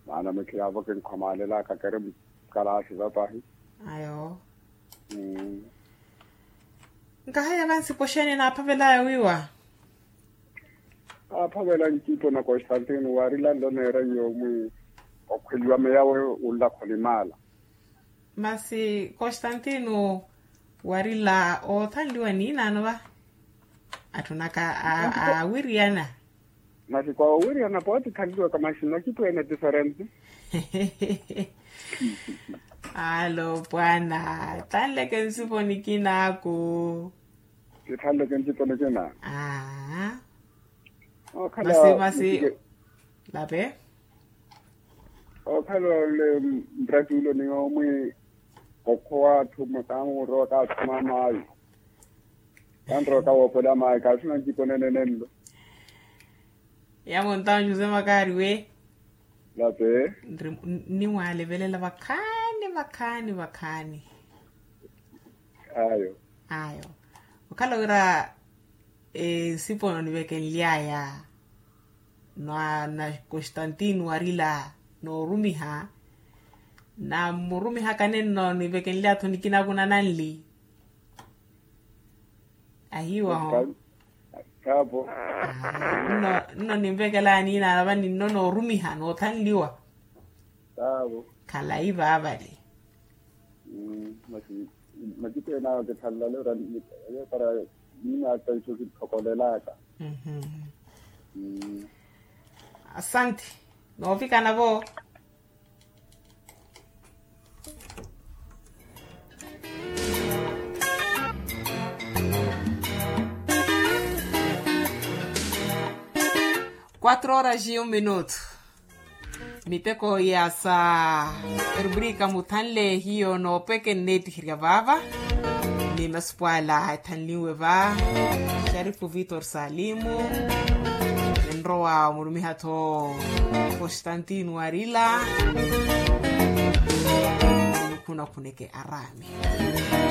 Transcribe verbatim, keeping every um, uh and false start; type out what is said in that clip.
Maana mikhiyaavo kinkhomalelaka keri mukalaasi vapahi. Ayo. Nkahaya vansi poxene naaphavelaya wiiwa. Aaphavela ncipo na constantino waarilani lo neera nyuwo mwi okhweliwa meyawe unla khonimala. Masi constantino warila oothanliwa niinaano va? Atthunaka aawiriyana. Masi kwa owiriyana pooti thanliwaka masi nakipweene diferente. Alo pwana thanleke nsipo nikinaaku. Kithanleke nsipo nikina. Aa. Masi masi. Lape. Okhala ole mpratulo ni omwi okhowa atthu makamurowa kaathuma maayi. Kanrowa kawoopola maayi kaasina ncipo nenenenlo. Yamontawo jose makaari we. Lape. Nimwaalevelela vakhaani vakhaani vakhaani. Ayo. Ayo. Okhala wira nsipo nonivekenly'aya na constantino warila noorumiha. Nammurumihaka nenno nivekenly'atho nikinaku nananli. Ahiiwaho. Nno ninvekelaya niinaana vani nno noorumiha noothanliwa. Khalayi vaavale. Matiku enaawo kithanlale ora para niinaataiso kithokolelaka. Asante. Noovikana vo. Quatro horas e um minuto. Miteko ya sa rubrika muthanle hiyo noopeke nneettiherya vaava. Ni masupwaala ethanlinwe va sharifu vitor salimu. Ninrowa omurumiha-tho constantino arila. Nikhunakhuneke araami.